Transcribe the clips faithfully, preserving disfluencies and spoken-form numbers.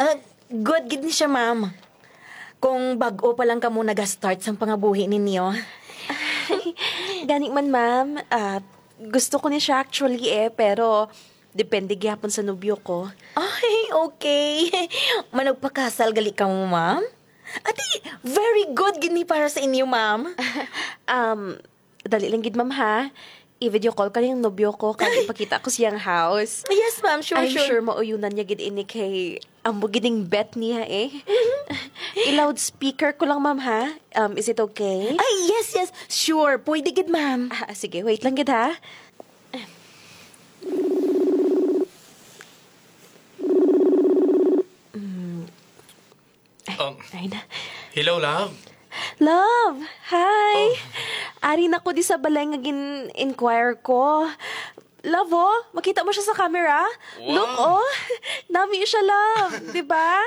Ah, good gid ni siya, ma'am. Kung bag-o pa lang kamo nag-start sang pangabuhi ninyo. Gani man, ma'am. Ah, gusto ko ni siya actually eh, pero depende gyapon sa nobyo ko. Ay, okay. Managpakasal gali kamo, ma'am? Ati, very good gid ni para sa inyo, ma'am. Um, dali lang gid, ma'am, ha? I-video call ko lang yung nobyo ko kag ipakita ko siyang house. Yes, ma'am. Sure, I'm sure. Sure mauyunan niya gid ini kay amo gid ning bet niya eh. I-loudspeaker ko lang, ma'am, ha? Um, is it okay? Ay, yes, yes. Sure. Pwede gid, ma'am. Ah, sige, wait lang gid, ha? Mm. Ay, Um, ay na. Hello, love. Love, hi. Oh. Ari na ko di sa balay nga gin-inquire ko. Love, oh, makita mo siya sa camera? Wow. Look, oh. Nami siya, love. Di ba?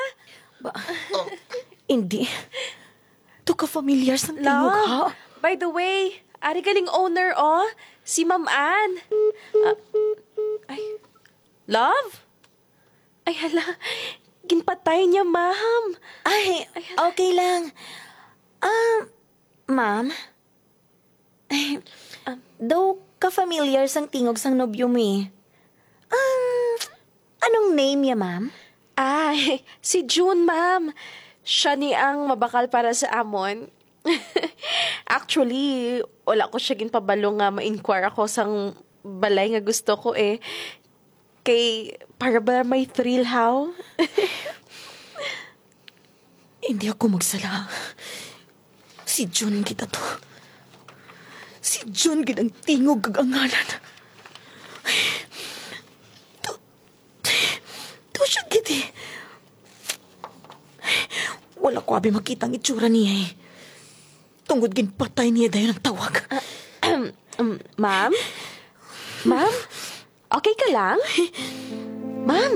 Ba? Oh. Hindi. To ka familiar sang tingog, ha? Love, by the way, ari galing owner, oh. Si Ma'am Ann. Ah, ay. Love? Ay, hala. Ginpatay niya, ma'am. Ay, ay, hala. Okay lang. Ah, ma'am? Ay, um, daw ka-familiar sang tingog sang nobyo mo eh. Um, anong name niya, ma'am? Ay, si June, ma'am. Siya ni ang mabakal para sa amon. Actually, wala ko siya ginpabalo nga ma-inquire ako sang balay nga gusto ko eh. Kay, para ba may thrill, how? Hindi ako magsala. Si Jun gid ato. Si Jun gid ang tingog kag ang ngalan. To, to siya gid eh. Wala ko abi makita ang itsura niya eh. Tungod ginpatay niya dayon ang tawag. Ah, um, ma'am? Ma'am? Okay ka lang? Ma'am?